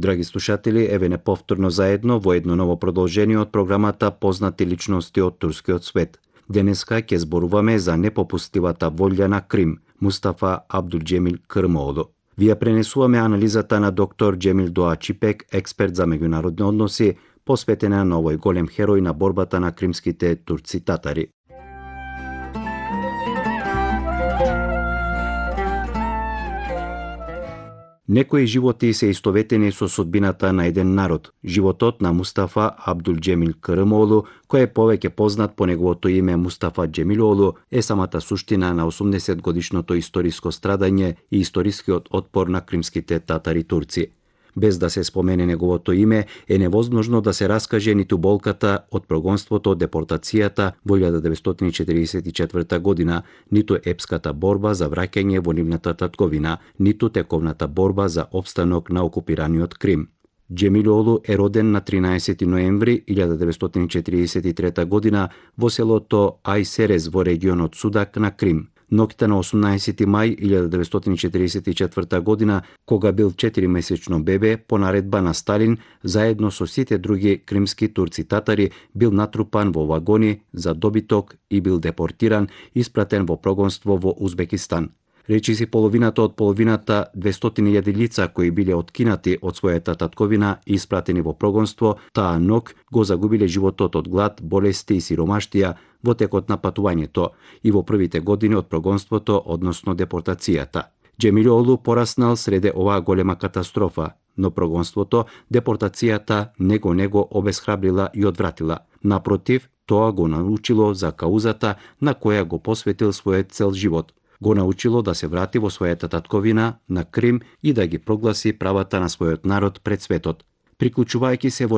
Драги слушатели, еве не повторно заедно во едно ново продолжение од програмата Познати личности од турскиот свет. Денеска ќе зборуваме за непопустливата волја на Крим, Мустафа Абдулџемил Кырмоолу. Ви ја пренесуваме анализата на доктор Џемил Доачипек, експерт за меѓународни односи, посветена на овој голем херој на борбата на кримските турци татари. Некои животи се истоветени со судбината на еден народ. Животот на Мустафа Абдулџемил Кырмоолу, кој е повеќе познат по неговото име Мустафа Џемилоолу, е самата суштина на 80 годишното историско страдање и историскиот отпор на кримските татари турци. Без да се спомене неговото име, е невозможно да се раскаже ниту болката од прогонството од депортацијата во 1944 година, ниту епската борба за враќање во нивната татковина, ниту тековната борба за опстанок на окупираниот Крим. Џемилоолу е роден на 13 ноември 1943 година во селото Ајсерез во регионот Судак на Крим. Ноќта на 18 мај 1944 година, кога бил 4-месечно бебе, по наредба на Сталин, заедно со сите други кримски турци татари, бил натрупан во вагони за добиток и бил депортиран, испратен во прогонство во Узбекистан. Речиси половината од половината 200.000 лица кои биле откинати од својата татковина и испратени во прогонство, таа ноќ го загубиле животот од глад, болести и сиромаштија во текот на патувањето и во првите години од прогонството, односно депортацијата. Џемилоолу пораснал среде оваа голема катастрофа, но прогонството, депортацијата не го обесхрабрила и одвратила. Напротив, тоа го научило за каузата на која го посветил својот цел живот. Го научило да се врати во својата татковина, на Крим, и да ги прогласи правата на својот народ пред светот. Приклучувајќи се во